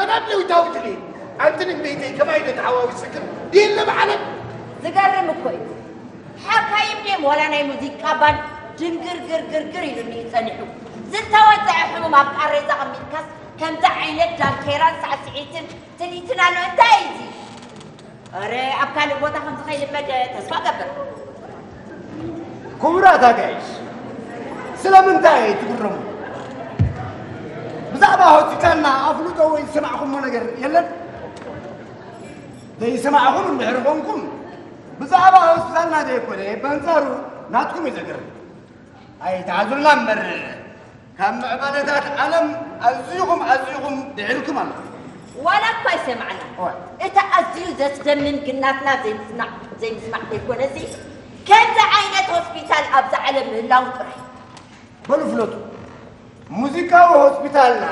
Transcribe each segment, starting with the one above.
ዓለም ለዊታዊ ድሌት ኣንቲ ንግደይተይ ከማይ ዶ ተሓዋዊስክን የለ ብዓለም። ዝገርም እኮ እዩ። ሓካይም ድዮም ዋላ ናይ ሙዚቃ ባንድ ድንግር ግር ግር ግር ኢሉኒ እዩ ጸኒሑ። ዝተወጽዐ ሕሙም ኣብ ቃሬዛ ኣቐሚጥካስ ከምዚ ዓይነት ዳንኬራን ሳዕስዒትን ትልሂትን ኣሎ። እንታይ እዩ እዚ? ኣረ ኣብ ካልእ ቦታ ከምዚ ከይልመድ ተስፋ እገብር። ክቡራት ኣጋይሽ፣ ስለምንታይ ትግረሙ? ብዛዕባ ሆስፒታልና ኣፍልጦ ወይ ዝሰማዕኹሞ ነገር የለን? ዘይሰማዕኹም እንድሕር ኾንኩም፣ ብዛዕባ ሆስፒታልና ዘይኮነ፣ በንጻሩ ናትኩም እዩ ዘገርም። ኣይትሓዙልና እምበር፣ ካብ ምዕባለታት ዓለም ኣዚኹም ኣዚኹም ድሒርኩም ኣለኹም። ዋላ እኳ ኣይሰማዕና፣ እዋ። እቲ ኣዝዩ ዘስደምም ግን ናትና ዘይምስማዕ ዘይምስማዕ ዘይኮነሲ፣ ከምዚ ዓይነት ሆስፒታል ኣብዛ ዓለም ምህላው ጥራይ። በሉ ፍለጡ፣ ሙዚቃዊ ሆስፒታልና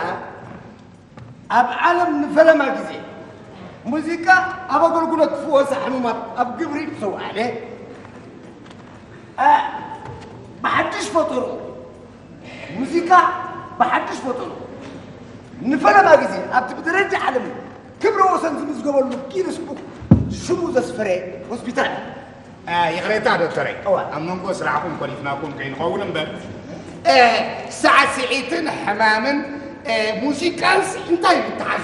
ኣብ ዓለም ንፈለማ ግዜ ሙዚቃ ኣብ ኣገልግሎት ዝፍወሳ ሕሙማት ኣብ ግብሪ ምስ ኣውዓለ፣ እ፣ ብሓድሽ ፈጠሩ ሙዚቃ ብሓድሽ ፈጠሩ ንፈለማ ግዜ ኣብቲ ብደረጃ ዓለም ክብረ ወሰን ዝምዝገበሉ ጊነስ ቡክ ሽሙ ዘስፈረ ሆስፒታል። እ፣ ይቕሬታ ዶክተረይ፣ እዋ። ኣብ መንጎ ስራሕኩም ኮሊፍናኩም ከይንኸውን እምበር፣ እ፣ ሳዕስዒትን ሕማምን፣ እ፣ ሙዚቃንስ እንታይ ምትሓዝ?